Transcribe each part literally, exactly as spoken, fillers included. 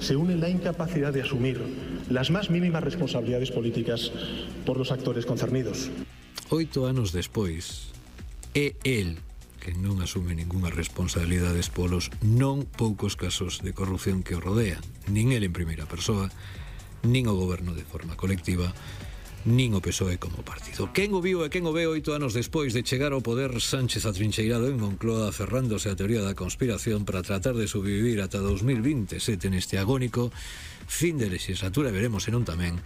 se une la incapacidad de asumir las más mínimas responsabilidades políticas por los actores concernidos. Oito anos despois, é el que non asume ningunha responsabilidades polos non poucos casos de corrupción que o rodean, nin el en primeira persoa, nin o goberno de forma colectiva, nin o P S O E como partido. Quen o viu e quen o ve oito anos despois de chegar ao poder Sánchez atrincheirado en Moncloa aferrándose á teoría da conspiración para tratar de sobrevivir ata dos mil veintesete neste agónico fin de legislatura, veremos senón tamén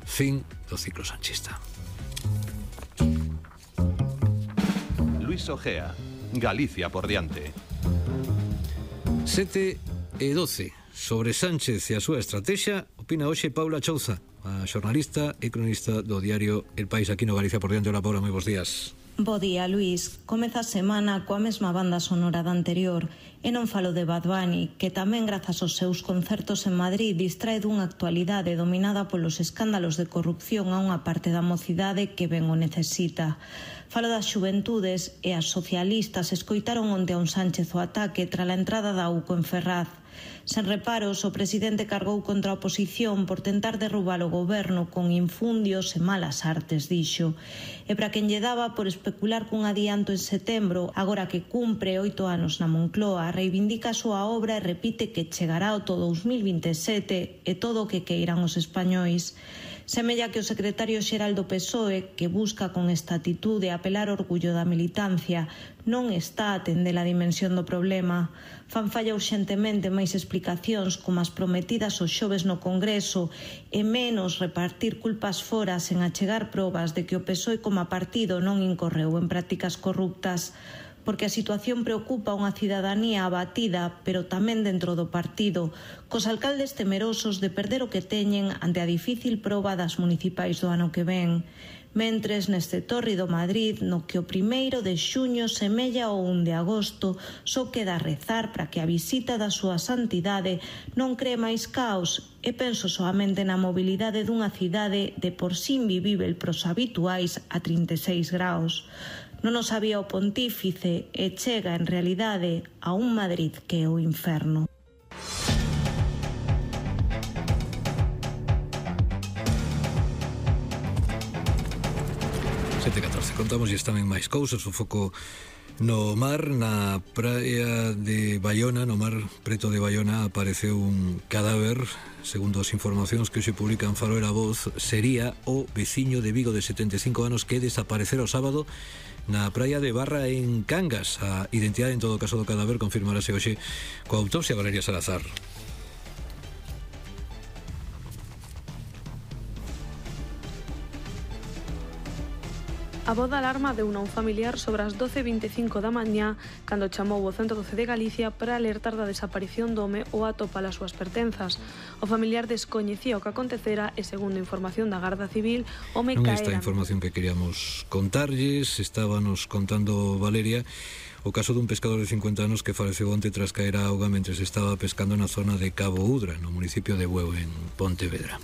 fin do ciclo sanchista. Luis Ojea, Galicia por diante. sete e doce. Sobre Sánchez e a súa estrategia opina hoxe Paula Chouza, a xornalista e cronista do diario El País aquí no Galicia por diante. Hola Paula, moi bons días. Bo día, Luís. Comeza a semana coa mesma banda sonora da anterior e non falo de Bad Bunny, que tamén grazas aos seus concertos en Madrid distrae dunha actualidade dominada polos escándalos de corrupción a unha parte da mocidade que ben o necesita. Falo das xuventudes e as socialistas escoitaron onte a un Sánchez o ataque tras a entrada da U C O en Ferraz. Sen reparos, o presidente cargou contra a oposición por tentar derrubar o goberno con infundios e malas artes, dixo. E para quen lle daba por especular cun adianto en setembro, agora que cumpre oito anos na Moncloa, reivindica a súa obra e repite que chegará ao todo dous mil veintesete e todo o que queiran os españois. Semella que o secretario xeral do P S O E, que busca con esta atitude apelar ao orgullo da militancia, non está a atender a dimensión do problema. Fan falla urxentemente máis explicacións como as prometidas os xoves no Congreso e menos repartir culpas fora sen achegar probas de que o P S O E como partido non incorreu en prácticas corruptas. Porque a situación preocupa a unha cidadanía abatida, pero tamén dentro do partido, cos alcaldes temerosos de perder o que teñen ante a difícil proba das municipais do ano que ven. Mentres, neste tórrido Madrid, no que o primeiro de xuño semella o un de agosto, só queda rezar para que a visita da súa santidade non cree máis caos, e penso soamente na mobilidade dunha cidade de por sí invivível pros habituais a trinta e seis graus. Non o sabía o pontífice e chega en realidade a un Madrid que é o inferno. sete e catorce. Contamos e tamén máis cousas. O foco no mar, na praia de Baiona, no mar preto de Baiona, apareceu un cadáver. Segundo as informacións que hoxe publican Faro e La Voz, sería o veciño de Vigo de setenta e cinco anos que desaparecera o sábado na praia de Barra en Cangas. A identidade en todo caso do cadáver confirmarase hoxe coa autopsia. Valeria Salazar. A voz da alarma deu a un familiar sobre as doce e vinte e cinco da mañá cando chamou o ciento doce de Galicia para alertar da desaparición do home ou atopar as súas pertenzas. O familiar descoñecía o que acontecera e, segundo información da Garda Civil, o home caera... Non esta información que queríamos contarlles, estábanos contando Valeria o caso dun pescador de cincuenta anos que faleceu onte tras caer a auga mentre estaba pescando na zona de Cabo Udra, no municipio de Bueu, en Pontevedra.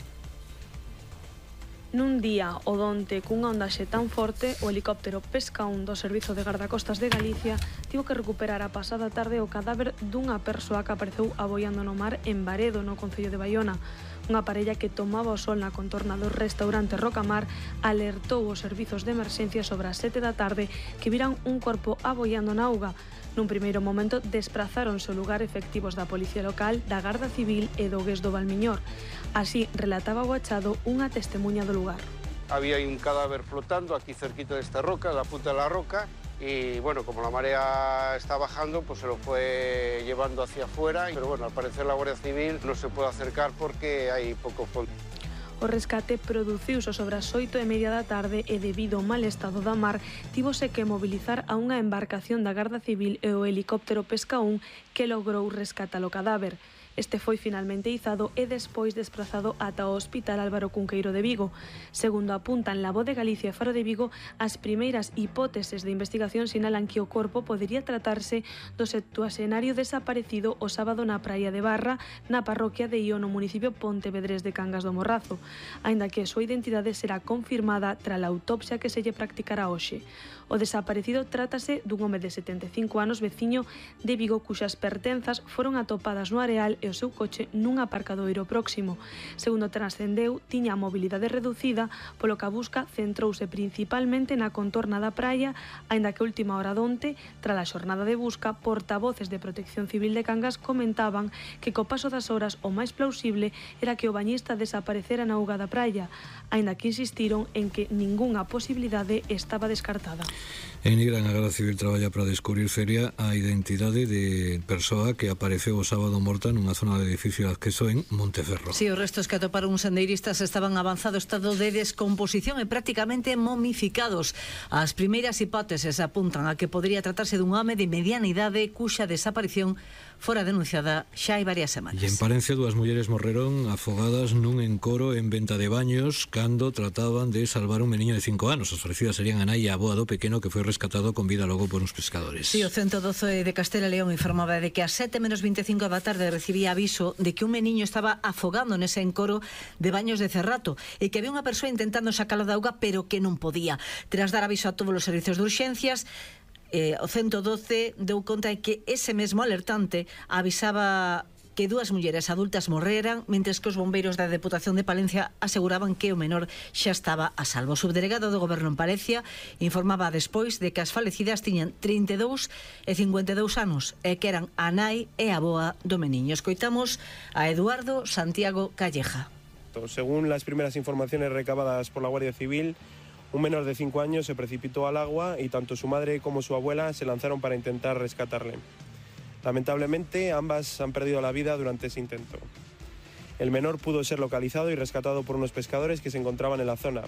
Nun día odonte cunha ondaxe tan forte, o helicóptero Pesca un do Servizo de Gardacostas de Galicia tivo que recuperar a pasada tarde o cadáver dunha persoa que apareceu aboiando no mar en Baredo, no concello de Baiona. Unha parella que tomaba o sol na contorna do restaurante Rocamar alertou os servizos de emerxencia sobre as sete da tarde que viran un corpo aboiando na auga. Nun primeiro momento desprazáronse ao lugar efectivos da Policía Local, da Garda Civil e do Gués do Valmiñor. Así relataba o achado unha testemuña do lugar. Había un cadáver flotando aquí cerquita desta roca, da punta de la roca, y bueno, como la marea está bajando, pues se lo fue llevando hacia afuera, pero bueno, al parecer la Guardia Civil no se puede acercar porque hay poco fondo. O rescate produciuse sobre as oito e media da tarde e debido ao mal estado da mar tívose que mobilizar a unha embarcación da Garda Civil e o helicóptero Pesca un que logrou rescatar o cadáver. Este foi finalmente izado e despois desprazado ata o Hospital Álvaro Cunqueiro de Vigo. Segundo apuntan La Voz de Galicia e Faro de Vigo, as primeiras hipóteses de investigación sinalan que o corpo podería tratarse do septuaxenario desaparecido o sábado na praia de Barra, na parroquia de Io, no municipio pontevedrés de Cangas do Morrazo, aínda que a súa identidade será confirmada tras a autopsia que se lle practicará hoxe. O desaparecido trátase dun home de setenta e cinco anos veciño de Vigo cuxas pertenzas foron atopadas no areal e o seu coche nun aparcadoiro próximo. Segundo trascendeu, tiña a mobilidade reducida, polo que a busca centrouse principalmente na contorna da praia, aínda que a última hora donte, tras a xornada de busca, portavoces de Protección Civil de Cangas comentaban que co paso das horas o máis plausible era que o bañista desaparecera na auga da praia, aínda que insistiron en que ningunha posibilidade estaba descartada. En Nigrán, a Garda Civil traballa para descubrir feria a identidade de persoa que apareceu o sábado morta nunha zona de edificio de acceso en Monteferro. Si, sí, os restos que atoparon uns sendeiristas estaban en avanzado estado de descomposición e prácticamente momificados. As primeiras hipóteses apuntan a que podría tratarse dun home de mediana idade cuxa desaparición fora denunciada xa hai varias semanas. E en Palencia, dúas mulleres morreron afogadas nun encoro en venta de baños cando trataban de salvar un meniño de cinco anos. As falecidas serían a nai e a avoa do pequeno que foi rescatado con vida logo por uns pescadores. Si, sí, o ciento doce de Castela e León informaba de que a sete menos veinticinco da tarde recibía aviso de que un meniño estaba afogando nese encoro de baños de Cerrato e que había unha persoa intentando sacalo da auga pero que non podía. Tras dar aviso a todos os servizos de urxencias, Eh, o ciento doce deu conta de que ese mesmo alertante avisaba que dúas mulleres adultas morreran, mentres que os bombeiros da Deputación de Palencia aseguraban que o menor xa estaba a salvo. O subdelegado do Goberno en Palencia informaba despois de que as falecidas tiñan trinta e dous e cincuenta e dous anos e que eran a nai e a avoa do meniño. Escoitamos a Eduardo Santiago Calleja. Según las primeras informaciones recabadas por la Guardia Civil, un menor de cinco años se precipitó al agua y tanto su madre como su abuela se lanzaron para intentar rescatarle. Lamentablemente, ambas han perdido la vida durante ese intento. El menor pudo ser localizado y rescatado por unos pescadores que se encontraban en la zona.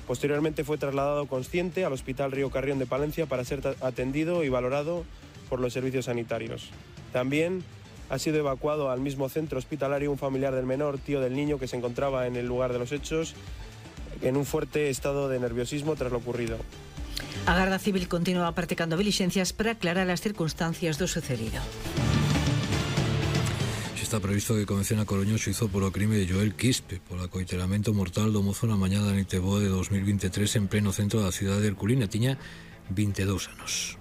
Posteriormente fue trasladado consciente al Hospital Río Carrión de Palencia para ser atendido y valorado por los servicios sanitarios. También ha sido evacuado al mismo centro hospitalario un familiar del menor, tío del niño, que se encontraba en el lugar de los hechos, en un fuerte estado de nerviosismo tras lo ocurrido. A Garda Civil continúa practicando diligencias para aclarar as circunstancias do sucedido. Está previsto que comece na Coruña o xuízo polo crime de Joel Quispe polo acoiteramento mortal do mozo na mañá da noite boa de dos mil veintitrés en pleno centro da cidade de Herculina. Tiña vinte e dous anos.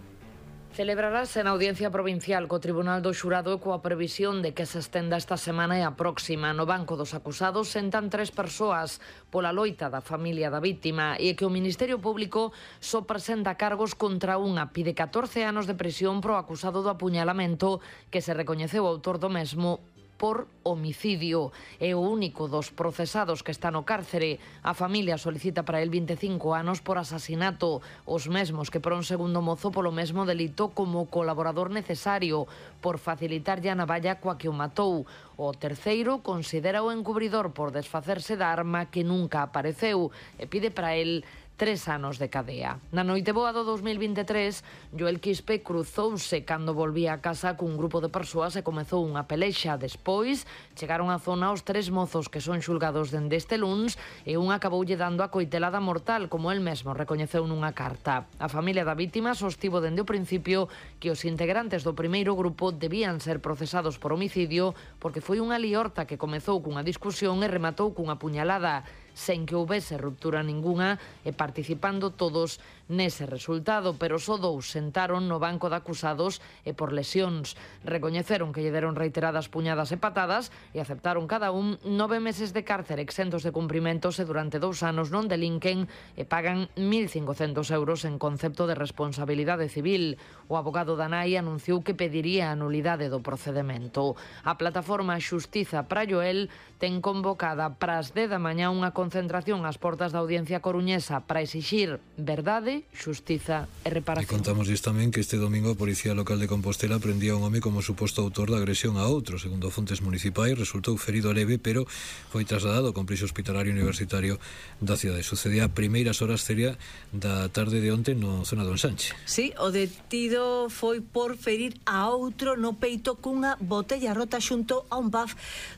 Celebrarase na Audiencia Provincial co Tribunal do Xurado e coa previsión de que se estenda esta semana e a próxima. No banco dos acusados sentan tres persoas pola loita da familia da vítima e que o Ministerio Público só presenta cargos contra unha. Pide catorce anos de prisión pro acusado do apuñalamento que se recoñeceu autor do mesmo por homicidio. É o único dos procesados que está no cárcere. A familia solicita para el vinte e cinco anos por asasinato, os mesmos que por un segundo mozo polo mesmo delito como colaborador necesario por facilitarlle a navalla coa que o matou. O terceiro considera o encubridor por desfacerse da arma que nunca apareceu e pide para el tres anos de cadea. Na noite boa do dos mil veintitrés, Joel Quispe cruzouse cando volvía a casa cun grupo de persoas e comezou unha pelexa. Despois, chegaron á zona os tres mozos que son xulgados dende este luns e un acaboulle dando a coitelada mortal, como el mesmo recoñeceu nunha carta. A familia da vítima sostivo dende o principio que os integrantes do primeiro grupo debían ser procesados por homicidio porque foi unha liorta que comezou cunha discusión e rematou cunha puñalada, sen que houbese ruptura ningunha e participando todos nese resultado, pero só dous sentaron no banco de acusados e por lesións. Recoñeceron que lle deron reiteradas puñadas e patadas e aceptaron cada un nove meses de cárcere exentos de cumprimentos e durante dous anos non delinquen e pagan mil cincocentos euros en concepto de responsabilidade civil. O abogado da nai anunciou que pediría a nulidade do procedemento. A plataforma Xustiza para Joel ten convocada para as dez da mañá unha concentración ás portas da Audiencia Coruñesa para exixir verdade, xustiza e reparación. E contamos tamén que este domingo a Policía Local de Compostela prendía un home como suposto autor da agresión a outro. Segundo fontes municipais, resultou ferido leve, pero foi trasladado ao complexo hospitalario universitario da cidade. Sucedía a primeiras horas seria da tarde de onte no zona do Ensanche. Sí, o detido foi por ferir a outro no peito cunha botella rota xunto a un pub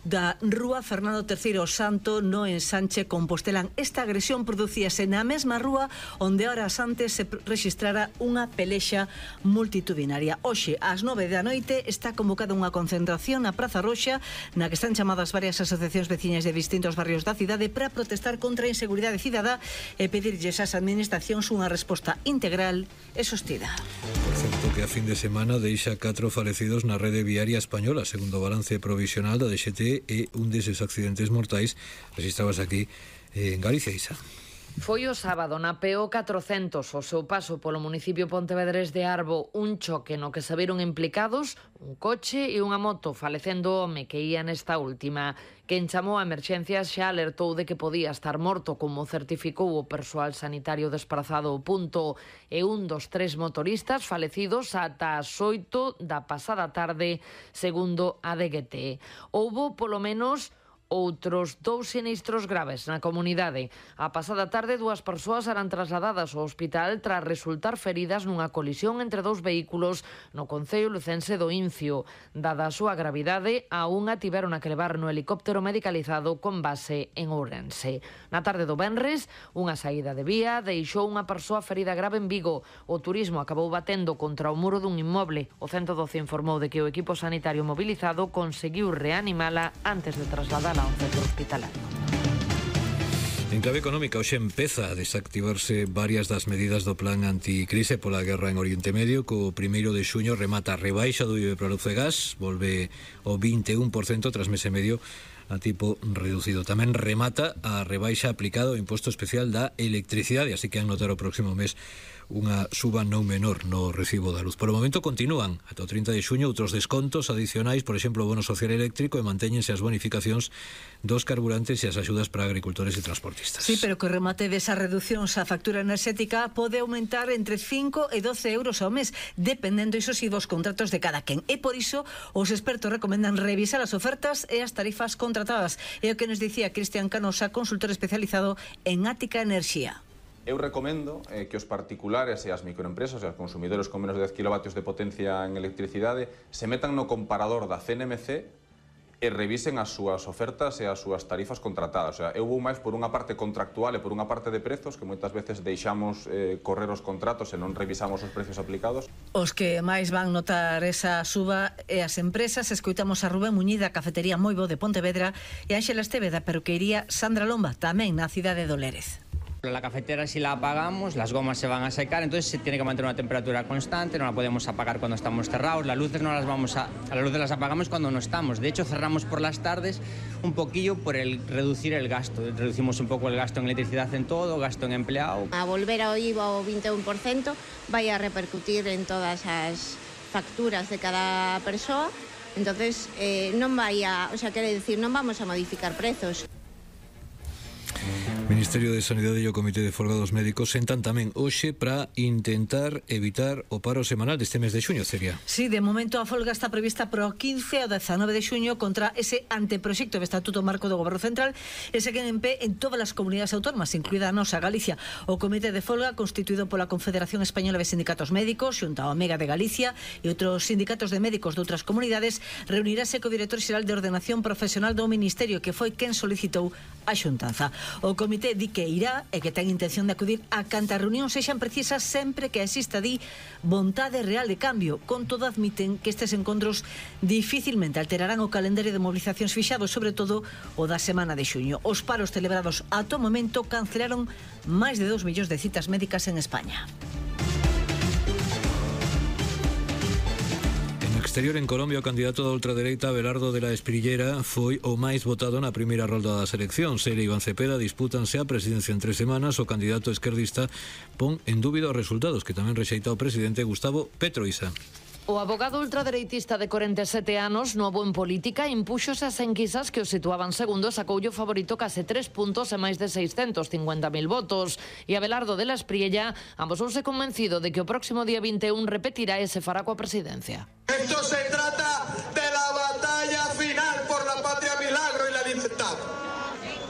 da rúa Fernando terceiro Santo no Ensanche Compostelán. Esta agresión producíase na mesma rúa onde ahora Santo antes se registrara unha pelexa multitudinaria. Hoxe, ás nove da noite, está convocada unha concentración na Praza Roxa, na que están chamadas varias asociacións veciñas de distintos barrios da cidade para protestar contra a inseguridade cidadá e pedirlles ás administracións unha resposta integral e sostida. Por certo que a fin de semana deixa catro falecidos na rede viaria española, segundo o balance provisional da D X T, e un deses accidentes mortais registrabas aquí en Galicia, Isa. Foi o sábado na P O catrocentos, o seu paso polo municipio pontevedrés de Arbo, un choque no que se viron implicados un coche e unha moto, falecendo o home que ía nesta última. Quen chamou a emerxencias xa alertou de que podía estar morto, como certificou o persoal sanitario desprazado ao punto, e un dos tres motoristas falecidos ata as oito da pasada tarde, segundo a D G T. Houbo polo menos outros dous sinistros graves na comunidade. A pasada tarde, dúas persoas eran trasladadas ao hospital tras resultar feridas nunha colisión entre dous vehículos no concello lucense do Incio. Dada a súa gravidade, a unha tiveron que levar no helicóptero medicalizado con base en Ourense. Na tarde do venres, unha saída de vía deixou unha persoa ferida grave en Vigo. O turismo acabou batendo contra o muro dun inmoble. O ciento doce informou de que o equipo sanitario mobilizado conseguiu reanimala antes de trasladala ao centro hospitalario. En clave económica, hoxe empeza a desactivarse varias das medidas do plan anticrise pola guerra en Oriente Medio. Co primeiro de xuño remata a rebaixa do I V A para luz e gas, volve ao vinte e un por cento tras mes e medio a tipo reducido. Tamén remata a rebaixa aplicada ao imposto especial da electricidade, así que han notar o próximo mes unha suba non menor no recibo da luz. Por o momento continúan ata o trinta de xuño outros descontos adicionais, por exemplo, o bono social eléctrico, e mantéñense as bonificacións dos carburantes e as axudas para agricultores e transportistas. Sí, pero que o remate desa reducción a factura enerxética pode aumentar entre cinco e doce euros ao mes, dependendo, iso si, dos contratos de cada quen. E por iso, os expertos recomendan revisar as ofertas e as tarifas contratadas. É o que nos dicía Cristian Canosa, consultor especializado en Ática Enerxía. Eu recomendo eh, que os particulares e as microempresas e os consumidores con menos de dez kilovatios de potencia en electricidade se metan no comparador da C N M C e revisen as súas ofertas e as súas tarifas contratadas. O sea, eu vou máis por unha parte contractual e por unha parte de prezos, que moitas veces deixamos eh, correr os contratos e non revisamos os precios aplicados. Os que máis van notar esa suba e as empresas. Escoitamos a Rubén Muñiz da Cafetería Moibo de Pontevedra e Ánxela Esteve da Peruquería Sandra Lomba, tamén na cidade de Lérez. La cafetera, si la apagamos, las gomas se van a secar, entonces se tiene que mantener una temperatura constante, no la podemos apagar cuando estamos cerrados, las luces no las vamos a, a las luces las apagamos cuando no estamos, de hecho cerramos por las tardes un poquillo por el reducir el gasto, reducimos un poco el gasto en electricidad en todo, gasto en empleado. A volver ao I V A ao vinte e un por cento vai a repercutir en todas as facturas de cada persoa, entonces eh, non vai a, o sea, quere decir, non vamos a modificar prezos. O Ministerio de Sanidade e o Comité de Folga dos Médicos sentan tamén hoxe para intentar evitar o paro semanal deste mes de xuño, Celia. Sí, de momento a folga está prevista para o quince ao dezanove de xuño contra ese anteproxecto de Estatuto Marco do Goberno Central e seguen en pé en todas as comunidades autónomas, incluída a nosa Galicia. O Comité de Folga, constituído pola Confederación Española de Sindicatos Médicos, xunta ao Omega de Galicia e outros sindicatos de médicos de outras comunidades, reunirase co director xeral de Ordenación Profesional do Ministerio, que foi quen solicitou a xuntanza. O Comité di que irá e que ten intención de acudir a cantas reunións sexan precisas sempre que exista di vontade real de cambio. Con todo, admiten que estes encontros dificilmente alterarán o calendario de movilizacións fixados, sobre todo o da semana de xuño. Os paros celebrados ata o momento cancelaron máis de dos millóns de citas médicas en España. Exterior, en Colombia, o candidato da ultradereita Abelardo de la Espriellera foi o máis votado na primeira rolda das eleccións. Ele e Iván Cepeda dispútanse a presidencia en tres semanas. O candidato esquerdista pon en dúbida os resultados, que tamén rexeita o presidente Gustavo Petro. Isa. O abogado ultradereitista de corenta e sete anos, novo en política, impúxose as enquisas que o situaban segundo e sacoulle o favorito case tres puntos e máis de seiscentos cincuenta mil votos. E Abelardo de la Espriella amosouse convencido de que o próximo día vinte e un repetirá e se fará coa presidencia. Esto se trata de la batalla final por la patria milagro y la libertad.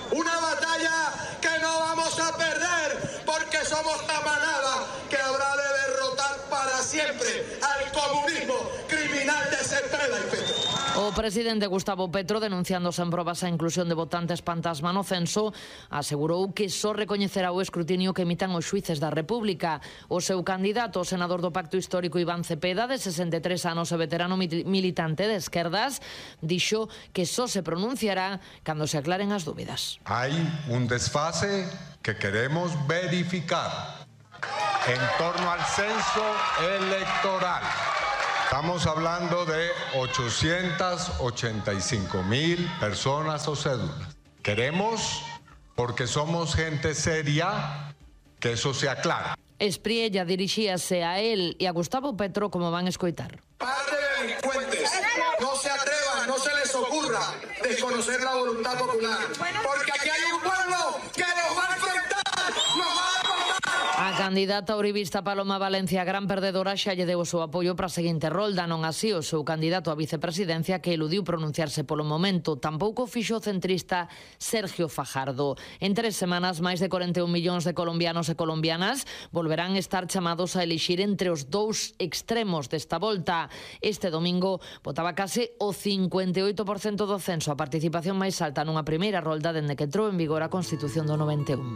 Una batalla que no vamos a perder porque somos la manada que habrá de derrotar para siempre al comunismo criminal de Cepeda y Petro. O O presidente Gustavo Petro, denunciando sen probas a inclusión de votantes fantasma no censo, asegurou que só recoñecerá o escrutinio que emitan os xuíces da República. O seu candidato, o senador do Pacto Histórico Iván Cepeda, de sesenta e tres anos e veterano militante de esquerdas, dixo que só se pronunciará cando se aclaren as dúbidas. Hai un desfase que queremos verificar en torno al censo electoral. Estamos hablando de ochocientas ochenta y cinco mil personas o cédulas. Queremos, porque somos gente seria, que eso se aclara. Espriella dirixíase a él e a Gustavo Petro, como van escoitar. Par de delincuentes, no se atrevan, no se les ocurra desconocer la voluntad popular, porque aquí hay un pueblo que nos va a enfrentar, nos va a enfrentar. A candidata uribista Paloma Valencia, gran perdedora, xa lle deu o seu apoio para a seguinte rolda, non así o seu candidato á vicepresidencia, que eludiu pronunciarse polo momento. Tampouco fixo o centrista Sergio Fajardo. En tres semanas, máis de corenta e un millóns de colombianos e colombianas volverán estar chamados a elixir entre os dous extremos desta volta. Este domingo votaba case o cincuenta e oito por cento do censo, a participación máis alta nunha primeira rolda dende que entrou en vigor a Constitución do noventa e un.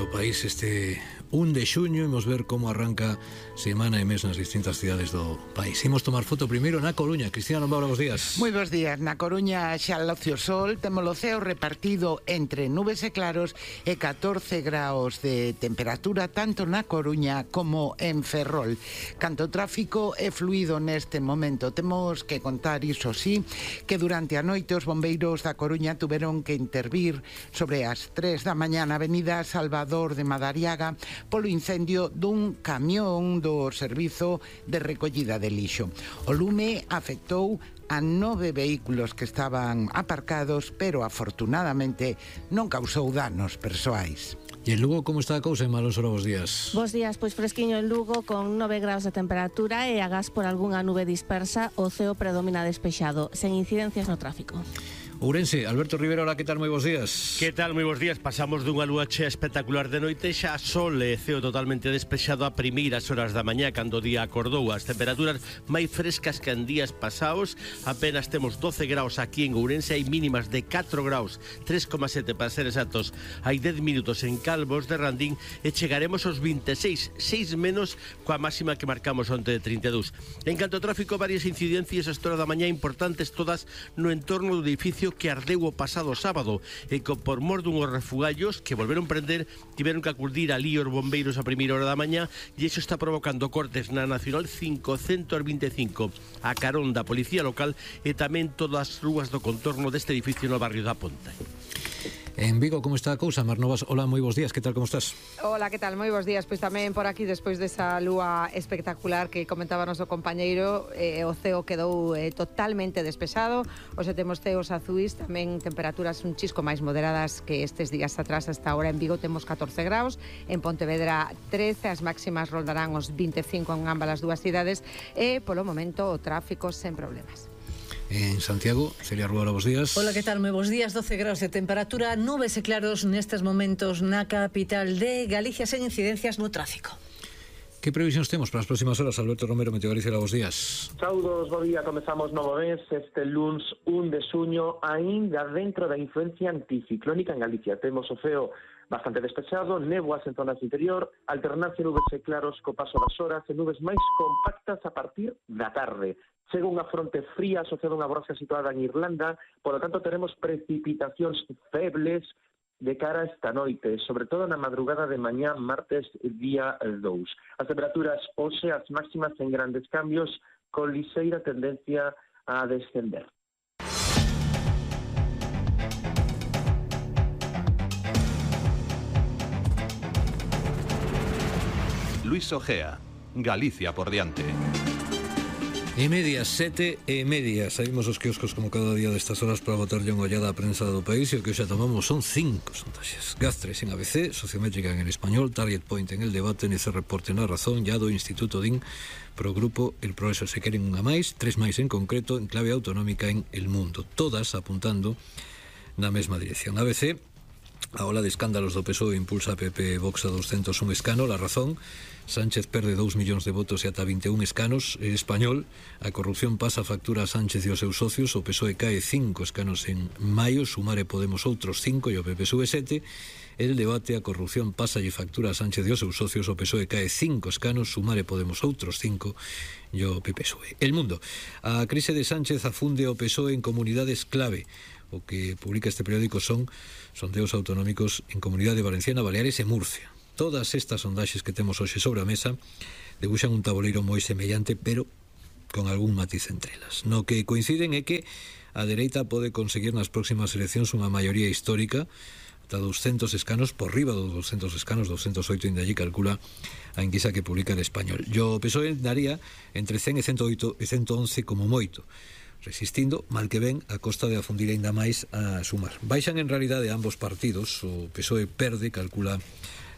País este un de xuño, imos ver como arranca semana e mes nas distintas cidades do país. Imos tomar foto primeiro na Coruña. Cristina Lombao, bons días. Moi bons días. Na Coruña xa loce o sol, temos o ceo repartido entre nubes e claros e catorce graus de temperatura tanto na Coruña como en Ferrol. Canto tráfico é fluido neste momento. Temos que contar, iso sí, que durante a noite os bombeiros da Coruña tuveron que intervir sobre as tres da mañá na avenida Salvador de Madariaga polo incendio dun camión do servizo de recollida de lixo. O lume afectou a nove vehículos que estaban aparcados, pero afortunadamente non causou danos persoais. E en Lugo, como está a cousa, en Malón Soro, bos días? Bos días, pois fresquiño en Lugo, con nove graus de temperatura e agás por algunha nube dispersa, o ceo predomina despexado, sen incidencias no tráfico. Ourense, Alberto Rivera, hola, que tal? Moi bons días. Que tal? Moi bons días. Pasamos dunha lúa chea espectacular de noite, xa sol e ceo totalmente despexado a primeiras horas da mañá, cando o día acordou. As temperaturas máis frescas que en días pasados, apenas temos doce graus aquí en Ourense, hai mínimas de catro graus, tres coma sete para ser exactos, hai dez minutos en Calvos de Randín e chegaremos aos vinte e seis, seis menos coa máxima que marcamos onte de trinta e dous. En canto ao tráfico, varias incidencias a esta hora da mañá importantes, todas no entorno do edificio que ardeu o pasado sábado e que por mor dunhos refugallos que volveron prender tiveron que acudir ali os bombeiros a primeira hora da mañá e iso está provocando cortes na Nacional cincocentos vinte e cinco a carón da Policía Local e tamén todas as rúas do contorno deste edificio no barrio da Ponta. En Vigo, como está a cousa? Mar Novas, hola, moi bons días, que tal, como estás? Hola, que tal, moi bons días. Pois tamén por aquí, despois desa lúa espectacular que comentaba o noso compañeiro, eh, o ceo quedou eh, totalmente despexado. Hoxe temos ceos azuis, tamén temperaturas un chisco máis moderadas que estes días atrás. Hasta ahora en Vigo temos catorce graus, en Pontevedra trece, as máximas roldarán os vinte e cinco en ambas as dúas cidades e polo momento o tráfico sen problemas. En Santiago, Celia Rúa, bos días. Hola, que tal? Moi bons días, doce graus de temperatura, nubes e claros nestes momentos na capital de Galicia sen incidencias no tráfico. Que previsións temos para as próximas horas? Alberto Romero, Meteo Galicia, bos días. Saudos, bo día, comezamos novo mes, este luns un de xuño, aínda dentro da influencia anticiclónica en Galicia. Temos o ceo bastante despexado, néboas en zonas interior, alternancia nubes e claros co paso das horas e nubes máis compactas a partir da tarde. Chega unha fronte fría asociada a unha borrasca situada en Irlanda, por lo tanto teremos precipitacións febles de cara a esta noite, sobre todo na madrugada de mañá, martes, día dous. As temperaturas hoxe, as máximas en grandes cambios, con liseira tendencia a descender. Luis Ojea, Galicia por diante. E media, sete e media. Saímos os quioscos como cada día destas horas para botarlle unha ollada á prensa do país e o que xa tomamos son cinco sondaxes. Gastres en A B C, Sociométrica en El Español, Target Point en El Debate, N C Reporte na Razón, ya do Instituto D I N, pro grupo El Progreso. Se queren unha máis, tres máis en concreto, en clave autonómica en El Mundo. Todas apuntando na mesma dirección. A B C A ola de escándalos do P S O E impulsa a P P Vox a doscientos un escano. La razón: Sánchez perde dous millóns de votos e ata vinte e un escanos. En español, a corrupción pasa a factura a Sánchez e os seus socios. O P S O E cae cinco escanos en maio, Sumar e Podemos outros cinco e o P P sube sete. El debate: a corrupción pasa e factura a Sánchez e os seus socios. O P S O E cae cinco escanos, Sumar e Podemos outros cinco e o P P sube. El Mundo: a crise de Sánchez afunde o P S O E en comunidades clave. O que publica este periódico son sondeos autonómicos en Comunidade Valenciana, Baleares e Murcia. Todas estas sondaxes que temos hoxe sobre a mesa debuxan un tabuleiro moi semellante, pero con algún matiz entre elas. No que coinciden é que a dereita pode conseguir nas próximas eleccións unha maioría histórica, ata doscientos escanos, por riba dos doscientos escanos, doscientos oito inda allí calcula a enquisa que publica el Español. Yo o P S O E daría entre cen e ciento oito e ciento once como moito, resistindo, mal que ven, a costa de afundir aínda máis a Sumar. Baixan en realidade ambos partidos, o P S O E perde, calcula